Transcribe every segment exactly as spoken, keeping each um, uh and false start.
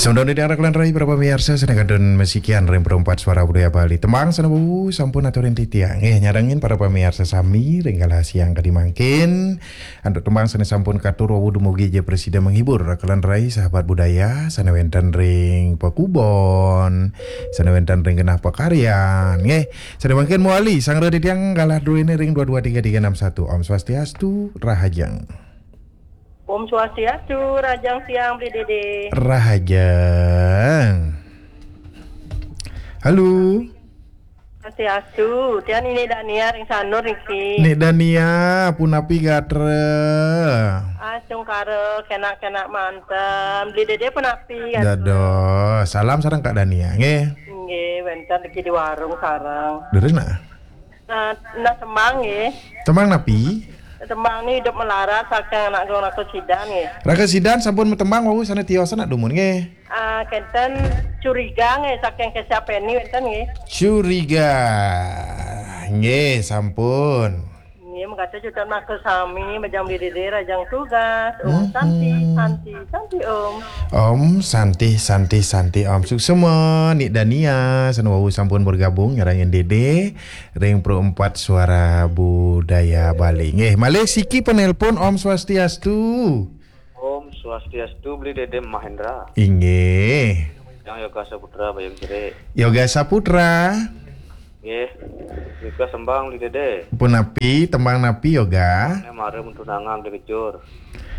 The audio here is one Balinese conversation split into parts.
Condong di daerah Kelandrai, para pamiarsa, sané kantun masikian ring Perempat Suara Budaya Bali. Tembang sané wau sampun aturin titiang. Nggih, nyarengin para pamiarsa sami ring galah siang kadi mangkin. Antuk tembang sané sampun katur wau dumugi ja prasida menghibur Kelandrai, sahabat budaya, sané wénten ring pakubon, sané wénten ring genah pakaryan. Nggih, sané mangkin mawali sanggra titiang galah druéné ring dua dua tiga tiga enam satu. Om Swastiastu, rahajeng. Om Swastiastu, rahajeng siang, Bli Dédé. Rahajeng. Halo. Swastiastu, tiang Ni Dania ring Sanur niki. Ni Dania, punapi gatra? Ah, sungkara, kenak-kenak manten. Bli Dédé punapi gatra? Dados. Salam sareng Kak Dania, nggih. Nggih, wénten niki di warung sareng. Leres, nah. Nah, nah, tembang nggih. Tembang napi? Tembang ni Idup Melarat saking anak dong Raka Sidan nggih. Raka Sidan sampun matembang wau sané tiosan nak dumun nggih. Ah, kenten Curiga nggih saking Kesha Penny wénten nggih. Curiga. Nggih, sampun. Nggih, mekaten jutan maka sami majang Bli Dédé rahajeng tugas. Om Santi, Santi, Santi Om. Om Santi, Santi, Santi Om. Suksma, Ni Dania, sané wau sampun bergabung nyarengin Dédé ring Perempat Suara Budaya Bali. Nggih, malih siki penelpon. Om Swastiastu. Om Swastiastu, Bli Dédé Mahendra. Inggih. Yang Yoga Saputra, Bayung Cerik. Yoga Saputra. Nggih. Yoga sembang, Bli Dédé. Punapi, tembang napi, Yoga? Né mara mentunangan Bli Kejur.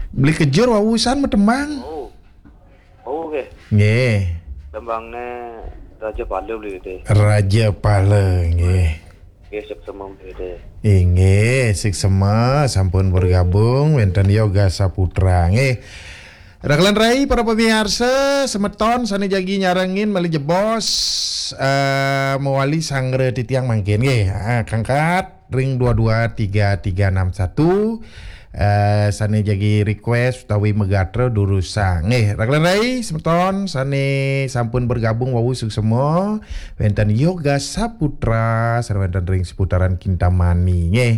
Bli Kejur wau san matembang. Oh. Oh, nggih. Nggih. Tembangné Raja Pala, Bli Dédé. Raja Pala, nggih. Nggih, suksma, Bli Dédé. Inggih, suksma sampun bergabung wénten Yoga Saputra. Nggih. Rakelan rai para pamiarsa, semeton sané jagi nyarengin malih jebos, eh, mawali sanggra titiang mangkin nggih. Ah, kangkat ring dua dua tiga tiga enam satu, eh, sané jagi request utawi magatra durusang. Nggih, rakelan rai semeton sané sampun bergabung wau suksma, wénten Yoga Saputra, sané wénten ring seputaran Kintamani. Nggih.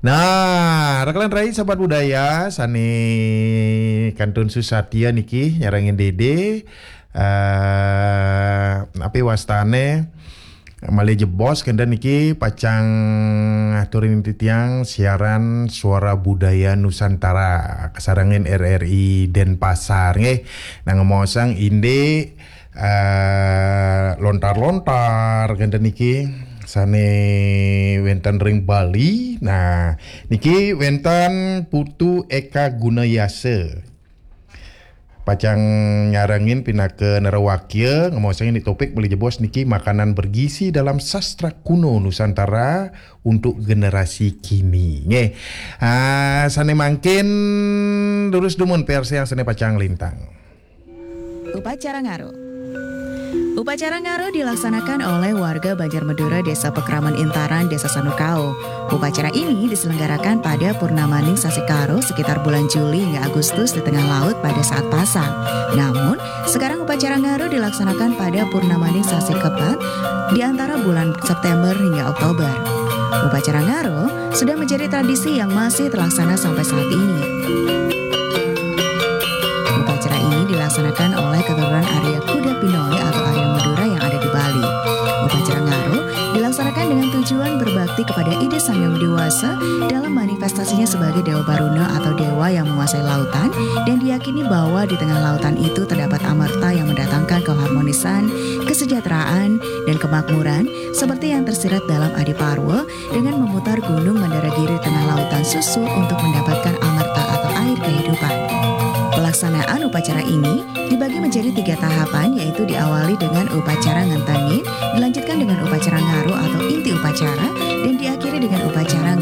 Nah, rakelan rai sahabat budaya sané kantun susatia niki nyarengin Dédé, eh, napi wastané malih jebos kenten niki pacang aturin titiang siaran Suara Budaya Nusantara kasarengin R R I Denpasar nggih. Nah, ngemaosang indik, eh, lontar-lontar kenten niki sané wénten ring Bali. Nah, niki wénten Putu Eka Gunayasa. Pacang nyarengin pinaka nerawakya, ngemaosang indik topik malih jebos niki makanan bergizi dalam sastra kuno Nusantara untuk generasi kini. Nggih. Ah, sané mangkin durus dumun piarsayang sané pacang lintang. Upacara Ngaro. Upacara Ngaro dilaksanakan oleh warga Banjar Madura, Desa Pekraman Intaran, Desa Sanukao. Upacara ini diselenggarakan pada purnamaning sasi Karo sekitar bulan Juli hingga Agustus di tengah laut pada saat pasang. Namun, sekarang upacara Ngaro dilaksanakan pada purnamaning sasi Kebat di antara bulan September hingga Oktober. Upacara Ngaro sudah menjadi tradisi yang masih terlaksana sampai saat ini. Upacara ini dilaksanakan oleh keturunan Arya Kuda Pinoi atau Arya Madura yang ada di Bali. Upacara Ngaro dilaksanakan dengan tujuan berbakti kepada Ida Sang Hyang Dewasa dalam manifestasinya sebagai Dewa Baruna atau dewa yang menguasai lautan, dan diyakini bahwa di tengah lautan itu terdapat amerta yang mendatangkan keharmonisan, kesejahteraan, dan kemakmuran, seperti yang tersirat dalam Adi Parwa, dengan memutar gunung Mandaragiri di tengah lautan susu untuk mendapatkan amerta atau air kehidupan. Pelaksanaan upacara ini dibagi menjadi tiga tahapan, yaitu diawali dengan upacara ngentengin, dilanjutkan dengan upacara ngaro atau inti upacara, dan diakhiri dengan upacara